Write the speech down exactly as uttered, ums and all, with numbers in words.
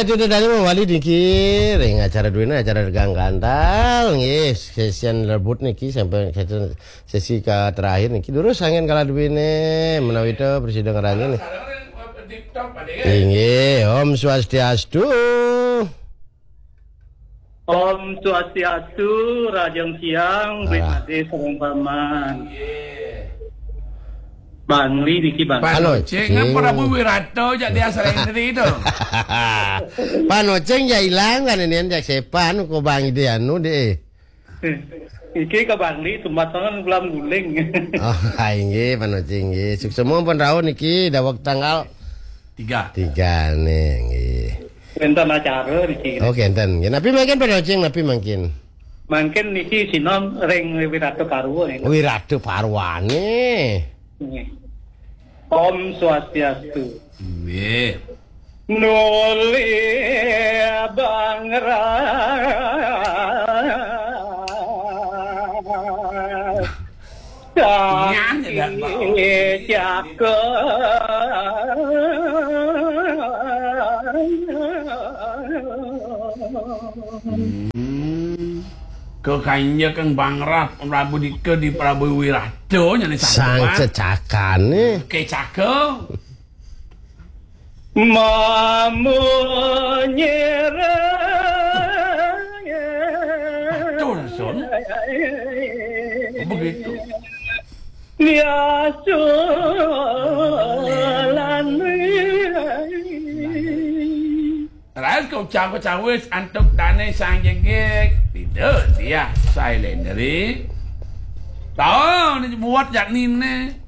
Itu tadi mawali niki ring acara duéné, acara Regang Gantal. Nggih, sesi rebut niki sampai sesi, sesi ka terakhir niki. Durus anggén kala duéné menawi ta prasida ngranjing. Inggih, Om Swastiastu. Om Swastiastu, Rahajeng Siang, Wit Ah. Madé sareng Paman. Bangli niki, Bang. Pano Cing, Cing. Ngapa Prabu Wirata jak dia sering tadi tu? Pano Cing jak ilang kan ini jak sepan ko Bang Ide anu deh. Iki ka Bangli, tumbatangan ulam guling. Oh, inggih, Pano Cing, inggih. Suksema pun rauh niki daweg tanggal Tiga. Tiga nih, nggih. Wénten acara niki. Oh, kénten. Nggih, napi mangkin Pano Cing, napi mangkin? Mangkin niki sinom ring Wirata Parwa niki. Wirata Parwané. Nggih. Om Swastiastu. Nggih. Nuli Bang Ras. Nyanyi dah, Bang. Cakep. Hmm. Kekanjeng Bang Ras, Prabu Dika di Prabu Wirata nyanyi Sang santuan. Cecakané. Kecaka. Mamunyir. Betul, Sun. Begitu. Biasa lan. Ras kau cawe-cawe antuk dané sang jegég. Tidak, dia silent diri. Tahu ni buat jak nine.